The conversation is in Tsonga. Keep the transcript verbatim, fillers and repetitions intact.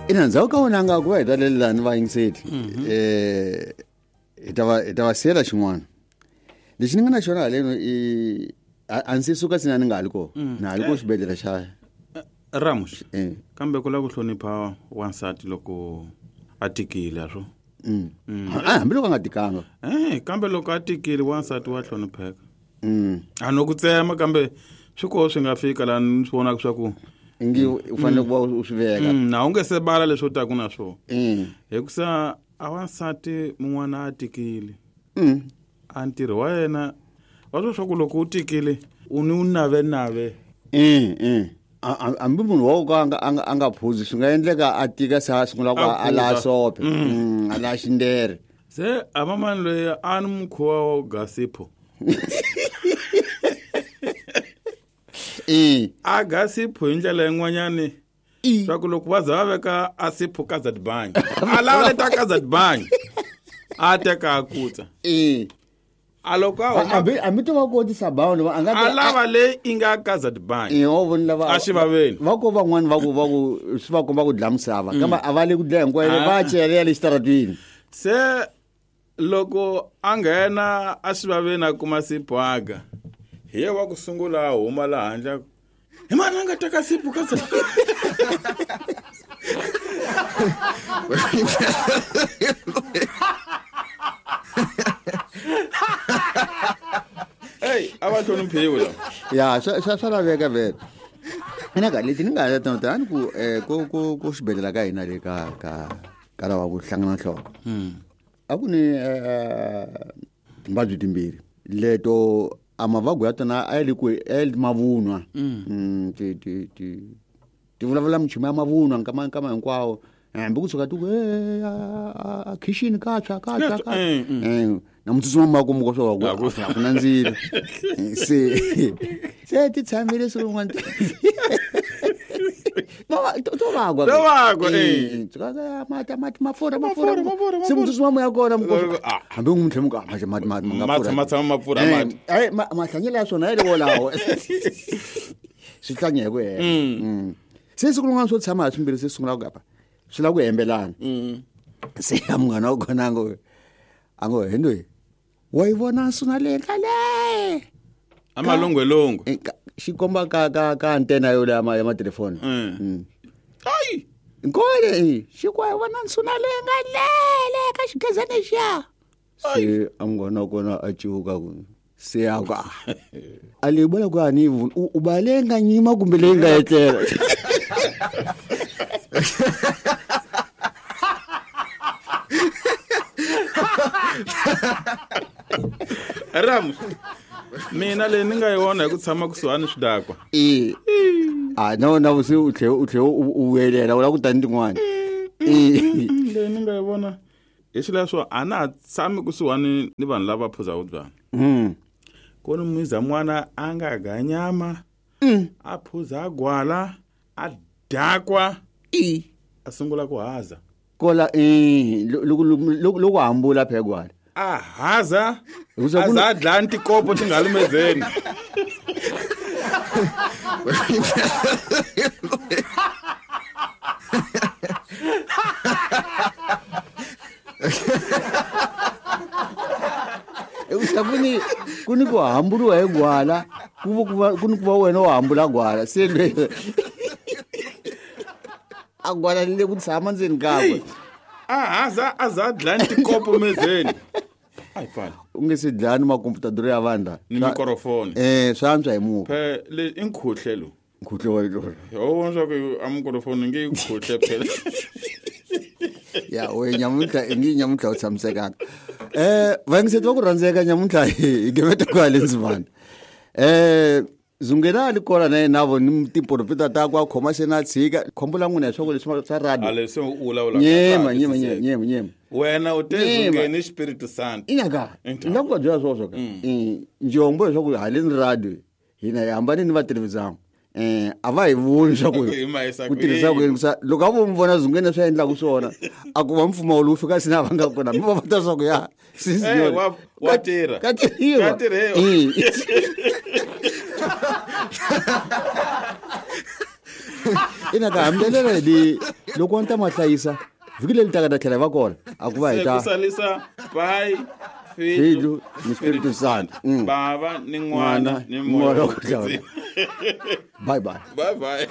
Ina ndzhaku ka wona nga ku va hi talelelani vayingiseli um hi ta va hi ta va siyela xin'wana lexi ni nga na xona haleno i a ndzi suka sina ni nga ha li kona na ha li ko xibedhlele xa Ramos eh kambe ku lava ku hlonipha wansati loko a tikile swo mm. Ah, hambi loko a nga tikanga eh kambe loko a tikile wansati wa hlonipheka mm. a no ku tsema kambe swi koho swi nga fika laha ni swi vonaka swa ku ingi u fanele ku va u swi veka Mm, na u nge se bala leswi u taku na swona Mm. hikusa a wansati mun'wana a tikile Mm. a ntirho wa yena wa swo swa ku loko u tikile u ni u navenave Mm, mm. A- a- hambi munhu wa ku a nga a nga a nga phuzi swi nga endleka a tika se a sungula ku A a laha phuza. sope Mm, a laha xindere se a mamani loyi a ni mukhuva wa gasipho Eh. a gasipho hi ndlela yin'wanyani I. swa ku loko va za va veka a sipho ka zadbanyi a lava leta ka zadbanyi a teka a kutsa Eh. a loko a huma hambi hambi to va kotisa bawundi va a nga a lava leyi i nga ka zadbanyi Eh, wa voni lava A xivaveni. va ko van'wani va ku va ku swi va komba ku dlaya misava kambe a va le ku dlaya hinkwayo Ah. va cela ya le xitaratwini se loko a nghena a xivaveni a kuma sipho aga hi ye wa ku sungula a huma laha handle a ku, hi mani a nga teka sipho ka Zadbanyi?" Ey a va hloniphiwi lava ya swa swa swa laveka vhele ina ka leti ni nga ta tani ku eh, ku ku ku xibedhlele ka hina le ka ka ka lava ku hlangana nhloko a ku ni eh, timbabyi timbirhi leto a mavabyi ya tona a ya le ku a ya le mavunwa Mm, ti ti ti ti vulavula minchumu ya mavunwa nkama nkama hinkwawo hambi kusuka ti ku "Eh, a- a- a khixini ka tshwa ka tshwa ka Eh, mm. Eh, na mutsutsuma makumu ko swa ku A ku- a ku na ndzilo Eh, se se ti tshamile siku rin'wana Va- to to vagwa To vagwa, eh. mati mati mafurha mafurha Mafurha, mafurha, se mutsutsuma moya kona Eh, ah. hambi n'wi tlhela mi ku, ah, mati mati mati ma nga Ma pfurha. tshama- tshama ma pfurha Eh, mati. eh, ma- mahlanyelo ya swona ya le wolawo swi hlanya hi ku hela Mm. Se siku rin'wana swo tshama ha swimbirhi se sungula ku gapa swi lava ku hembelana se ya munghana wa kona a ngo a ngo he ndoyi wa yi vona nsuna leyi ka le a malongwelongwe Eh, ka- xi komba ka ka ka antena yo ya ma ya matelefoni Mm. Mm. ayi nkole eh, xi ku wa yi vona nsuna leyi nga le le ka xigezana lexiya se a munghana wa kona a civuka ku se a ku "Ah, a leyi vona ku a ni yi voni u u ba leyi nga nyima kumbe leyi nga etlela Ramos mina leyi ni nga yi vona hi ku tshama kusuhani swidakwa e a na wona se u tlhe u tlhe u u vuyelela u lava ku tani tin'wana e leyi ni nga yi vona hi xileswo a na ha tshami kusuhani ni vanhu lava phuzaka byalwa Mm. ku ni muza n'wana a nga ga nyama a phuza gwala a dakwa i a sungula ku haza kola e loko loko loko hambula phegwana a haza Hikusa a ku za a dlaya ni tikopo ti nga lumezeni hikusa ku ni ku ni ku hambuliwa hi gwala ku va ku va ku ni ku va wena u hambula gwala se lwe a gwala le ku tshama ndzeni kakwe a haza a za a dlaya ni tikopo mezeni a yi pfala u nge se dlaya ni makomputadoro ya vanhu la ni mikorofoni eh swa antswa hi muka phe le i nkhuhle lowu nkhuhle wa lona ho vona swa ku a mikorofoni nge yi khuhle phela ya we nyamuntlha i nge nyamuntlha u tshamisekanga um vayingiseti va ku rhandzeka nyamuntlha hi gimeta ku hale ndzimana um zungelani kona na yena vo ni tiprofita takwe a khoma se na tshika khombo la n'wina hi swa ku leswi swa a radio leswi u vulavulaka nyema nyema nyema nyema nyema wena u te Nyema. zungeni xipiritu santo inaka Inta. ni nga ku va byela swoswo ka Eh, njombo leswaku haleni radio hina hi hambane ni va televizamu um a va hi voni swa ku Hi mahisa ku tirhisa ku yini kusa loko a vo mi vona zungeni swi endlaku swona a ku va mpfumawulo wu fika sina va nga kona mi va va ta swa ku ya Eh, wa- wa tirha. ka tirhiwa Ka tirhiwa. Eh. Ina ka hambelela li loko wa ni ta ma hlayisa vhiki leri taka ta tlhela hi va kona a ku va hi Se ta ku salisa pai Filho Filho ni Espírito Santo. Mm. Bava ni n'wana N'wana ni ni moya Moya wo wo kwetsima. kwetsima. Bye bye. Bye bye.